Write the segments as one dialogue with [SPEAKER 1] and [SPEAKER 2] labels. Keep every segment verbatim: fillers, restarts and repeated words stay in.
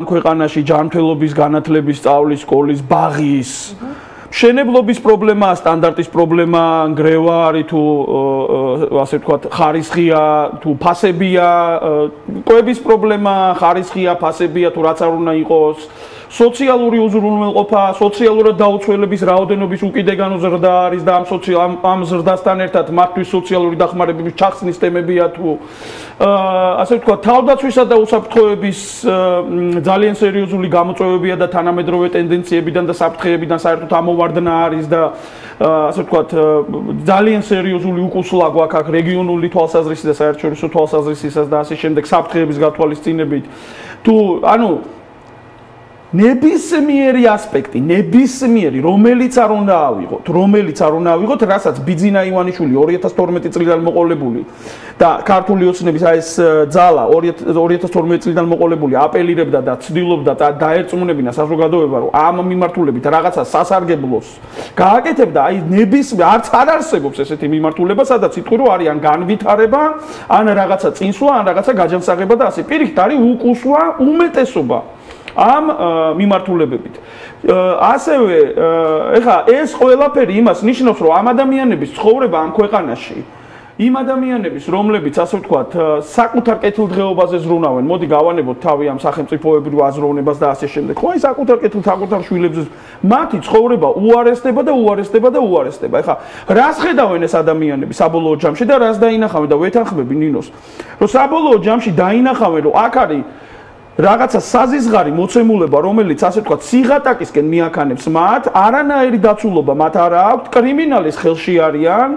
[SPEAKER 1] ქვეყანაში ჯანმრთელობის განათლების სწავლის სკოლის ბაღის მშენებლობის პრობლემაა, სტანდარტის პრობლემა, ნგრევა არის თუ ასე ვთქვათ, ხარისხია, თუ ფასებია, კვების პრობლემა, ხარისხია, ფასებია, თუ რაც არ უნდა იყოს, სოციალური უზრუნველყოფა, სოციალურად დაუცველების რაოდენობის უკიდეგანო ზრდა არის და ამ სოციალ ამ ზრდასთან ერთად მათთვის სოციალური დახმარებების ჩახსნის თემებია თუ ასე ვთქვათ, თავდაცვისა და უსაფრთხოების ძალიან სერიოზული გამოწვევებია და თანამედროვე ტენდენციებიდან და საფრთხეებიდან საერთოდ ამოვარდნა არის და ასე ვთქვათ, ძალიან სერიოზული უკუსლა გვაქვს აქ რეგიონული თვალსაზრისით და საერთაშორისო თვალსაზრისითაც და ასე შემდეგ საფრთხეების გათვალისწინებით. თუ ანუ ნებისმიერი ასპექტი, ნებისმიერი, რომელიც არ უნდა ავიღოთ, რომელიც არ უნდა ავიღოთ, რასაც ბიძინა ივანიშვილი ორი ათას თორმეტი წლიდან მოყოლებული და ქართული ოცნების აი ეს ძალა ორი ათას თორმეტი წლიდან მოყოლებული აპელირებდა და ცდილობდა და დაერწმუნებინა საზოგადოება, რომ ამ მიმართულებით რაღაცა სასარგებლოს გააკეთებდა, აი ნებისმიერ არც არ არსებობს ესეთი მიმართულება, სადაც იტყვი, რომ არის ან განვითარება, ან რაღაცა წინსვლა, ან რაღაცა გაჯანსაღება და ასე. პირიქით არის უკუსვა, უმეტესობა ამ მიმართულებებით. ასევე ეხლა ეს ყველაფერი იმას ნიშნავს, რომ ამ ადამიანების ცხოვრება ამ ქვეყანაში, იმ ადამიანების, რომლებიც ასე ვთქვათ, საკუთარ კეთილდღეობაზე ზრუნავენ, მოდი გავანებოთ თავი ამ სახელმწიფოებრივ აზროვნებას და ასე შემდეგ. ხო, აი საკუთარ კეთილ საკუთარ შვილებზე მათი ცხოვრება უარესდება და უარესდება და უარესდება. ეხლა რას ხედავენ ეს ადამიანები საბოლოო ჯამში და რას დაინახავენ და ვეთანხმები ნინოს, რომ საბოლოო ჯამში დაინახავენ, რომ აქ არის რაღაცა საზიზღარი მოცემულობა, რომელიც ასე ვთქვათ, სიღატაკისკენ მიაქანებს მათ, არანაირი დაცულობა მათ არ აქვს, კრიმინალის ხელში არიან.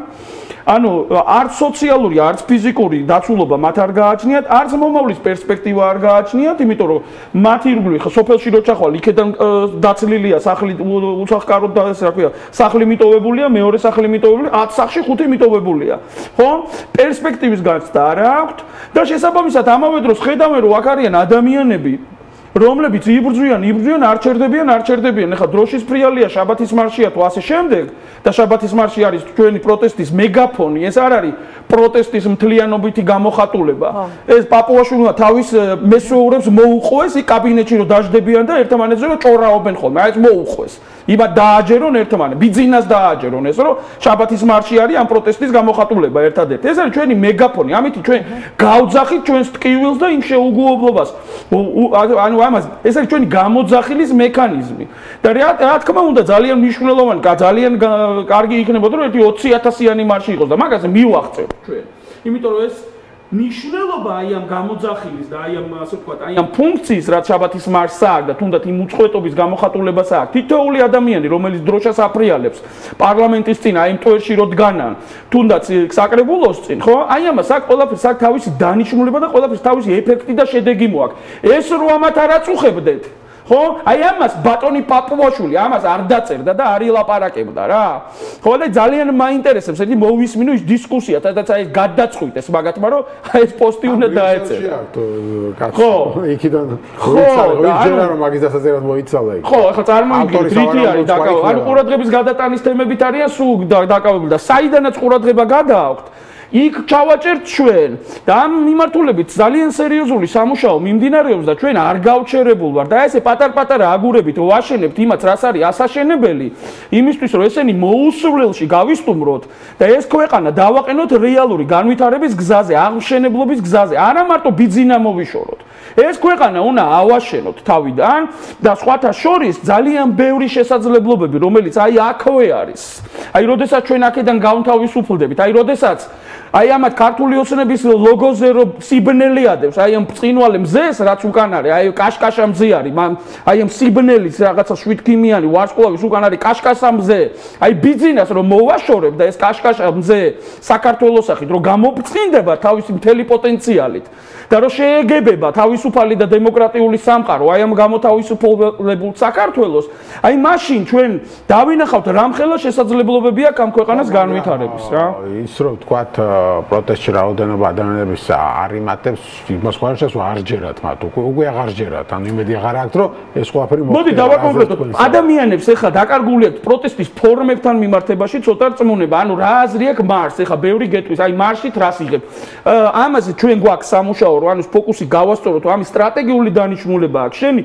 [SPEAKER 1] ანუ არც სოციალური, არც ფიზიკური დაცულობა მათ არ გააჩნიათ, არც მომავლის პერსპექტივა არ გააჩნიათ, იმიტომ რომ მათი ირგვლივ ხო სოფელში რო ჩახვალ, იქიდან დაცლილია სახლი უსახკაროდ და ეს რა ქვია, სახლი მიტოვებულია, მეორე სახლი მიტოვებული, ათ სახლში ხუთი მიტოვებულია. ხო? პერსპექტივის გაცდა არ აქვს და შესაბამისად ამავე დროს ხედავენ, რომ აქ არიან ადამიანები, რომლებიც იბრძვიან, იბრძვიან, არ ჩერდებიან, არ ჩერდებიან. ეხლა დროშის ფრიალია, შაბათის მარშია თუ ასე შემდეგ და შაბათის მარში არის ჩვენი პროტესტის მეგაფონი, ეს არ არის პროტესტის მთლიანობითი გამოხატულება. ეს პაპუაშვილმა თავის მესვეურებს მოუყვეს იქ კაბინეტში რომ დაждდებიან და ერთმანეთზე რომ ჭორაობენ ხოლმე. აი ეს მოუყვეს. იბა დააჯერონ ერთმანეთს, ბიძინას დააჯერონ ეს რომ შაბათის მარში არის ამ პროტესტის გამოხატულება ერთადერთი. ეს არის ჩვენი მეგაფონი. ამით ჩვენ გავძახით ჩვენს ტკივილს და იმ შეუგუებლობას. ანუ ამას ეს არის ჩვენი გამოძახილის მექანიზმი. და რა თქმა უნდა ძალიან მნიშვნელოვანი, ძალიან კარგი იქნებოდა რომ ერთი ოცი ათასიანი მარში იყოს და მაგაზე მივახცევთ ჩვენ. იმიტომ რომ ეს ნიშნულობა აი ამ გამოძახილის და აი ამ ასე ვთქვათ, აი ამ ფუნქციის, რაც შაბათის მარშს აქვს და თუნდაც იმ უწყვეტობის გამოხატულებას აქვს. თითოეული ადამიანი, რომელიც დროშას აფრიალებს პარლამენტის წინ, აი იმ ტვერში რო დგანან, თუნდაც საკრებულოს წინ, ხო? აი ამას აქვს ყველაფერს აქვს თავისი დანიშნულება და ყველაფერს თავისი ეფექტი და შედეგი მოაქვს. ეს რო ამათ არ აწუხებდეთ, ხო? აი ამას ბატონი პაპუაშვილი ამას არ დაწერდა და არ ილაპარაკებდა რა. ხო და ძალიან მაინტერესებს ერთი მოვისმინო ის დისკუსია, სადაც აი გადაწყვიტეს მაგათმა რომ აი ეს პოსტი უნდა დაეწერა.
[SPEAKER 2] ხო, იქიდან ვიჯერა რომ მაგის დასაწერად მოიცალა იქ.
[SPEAKER 1] ხო, ახლა წარმოიდგინეთ რითი არის დაკავებული. ანუ ყურადღების გადატანის თემებით არიან სულ დაკავებული და საიდანაც ყურადღება გადააქვთ. იქ ჩავაჭერთ ჩვენ და ამ მიმართულებით ძალიან სერიოზული სამუშაო მიმდინარეობს და ჩვენ არ გავჩერებულ ვარ და ესე პატარ-პატარა აგურებით ვაშენებთ იმას, რაც არის ასაშენებელი, იმისთვის რომ ესენი მოუსვლელში გავისტუმროთ და ეს ქვეყანა დავაყენოთ რეალური განვითარების გზაზე, აღმშენებლობის გზაზე, არა მარტო ბიძინა მოვიშოროთ. ეს ქვეყანა უნდა ავაშენოთ თავიდან და სხვათა შორის ძალიან ბევრი შესაძლებლობები, რომელიც აი აქვე არის. აი, როდესაც ჩვენ აქედან გავთავისუფლდებით, აი, როდესაც აი ამათ ქართული ოცნების ლოგოზე რო სიბნელი ადევს, აი ამ წინვალე მზეს, რაც უკან არის, აი კაშკაშა მზე არის, აი ამ სიბნელის რაღაცა შვიდქიმიანი ვარსკვლავის უკან არის კაშკაშა მზე. აი ბიძინას რომ მოვაშორებ და ეს კაშკაშა მზე საქართველოსახით რომ გამოფწინდება თავისი მთელი პოტენციალით და რომ შეეგებება თავისუფალი და დემოკრატიული სამყარო, აი ამ გამოთავისუფლებულ საქართველოს, აი მაშინ ჩვენ დავინახავთ რამხელა შესაძლებლობები აქვს ამ ქვეყანას განვითარების რა.
[SPEAKER 2] ის რომ ვთქვათ პროტესტში რაოდენობა ადამიანების არ იმატებს, იმას ხარშას არ ჯერათ მათ, უკვე უკვე აღარ ჯერათ, ანუ იმედი აღარ აქვს, რომ ეს ყველაფერი მოხდება.
[SPEAKER 1] მოდი დავაკონკრეტოთ. ადამიანებს ეხლა დაკარგული აქვს პროტესტის ფორმებთან მიმართებაში ცოტა რწმუნება, ანუ რა აზრი აქვს მარს, ეხლა ბევრი გეტყვის, აი მარსით რას იღებ. ამაზე ჩვენ გვაქვს სამუშაო, რომ ანუ ფოკუსი გავასწოროთ, ამის სტრატეგიული დანიშნულება აქვს. შენი